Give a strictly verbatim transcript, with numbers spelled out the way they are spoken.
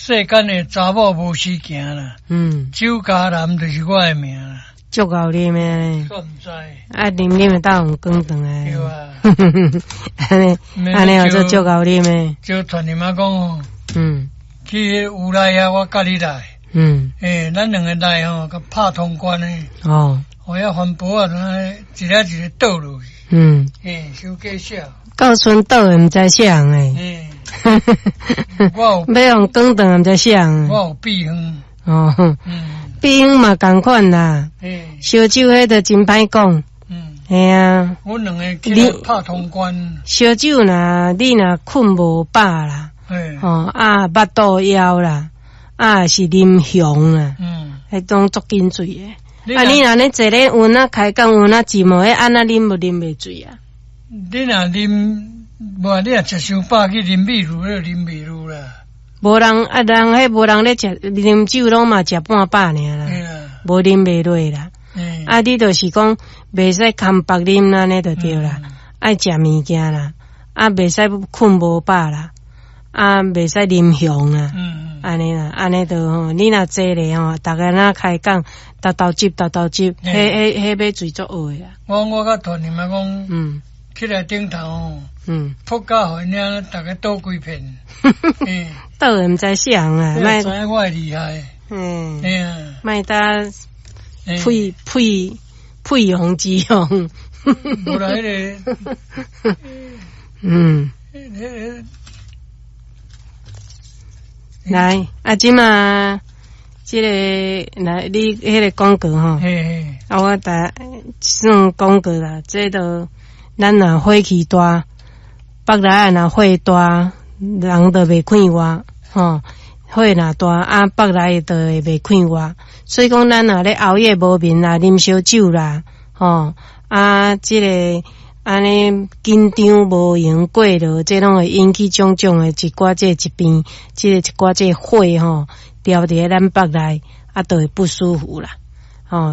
世間的查某無時行啦，嗯，酒家男就是我的名啦，足𠢕啉的，煞毋知。啊，啉啉會當用轉轉來。對啊。按呢，按呢叫做足𠢕啉的。就傳你媽講，嗯，去烏來遐，我佮你來。嗯。欸，咱兩个來吼，共拍通關的。哦。予遐番婆啊，一个一个倒落去。嗯。欸，傷過痟。到賰倒的毋知啥人欸。欸。我有。欲予轉轉毋知啥人。我有秘方。哦。嗯。秘方嘛仝款啦。欸。燒酒彼就真歹講。嗯。嘿啊。阮兩个去拍通關。燒酒若你若睏無飽啦。欸。哦啊，腹肚枵啦，啊是啉熊啦。嗯。彼種足緊醉的。啊，你若咧坐咧有哪開講有哪寂寞，彼按怎啉無啉袂醉啊？你若啉，無你若食傷飽去啉米露，你啉袂落啦。無人啊，人彼無人咧食啉酒，攏嘛食半飽爾啦，無啉袂落啦。啊，你就是講袂使空腹啉按呢就對啦，愛食物件啦，啊，袂使睏無飽啦，啊，袂使啉熊啦，按呢啦，按呢就吼，你若坐咧吼，逐家若開講，沓沓接沓沓接，彼彼彼欲醉足僫的啦。我我佮團你媽講，嗯，起來頂頭，嗯，撲甲予𪜶領，逐家倒規片，倒的毋知啥人啊，莫知影我的厲害，嗯，嘿啊，莫搭屁屁屁用之用，無啦，彼个，嗯，來，啊，這馬這个來，你彼个廣告吼，啊，我逐算廣告啦，這都咱若火氣大，腹內若火大，人就袂快活，吼，火若大，啊，腹內就會袂快活。所以講，咱若咧熬夜無眠啦，啉燒酒啦，吼，啊，這个按呢緊張無閒過勞，這攏會引起種種的一寡這疾病，這个一寡這個火吼，牢佇咧咱腹內，啊，就會不舒服啦，吼。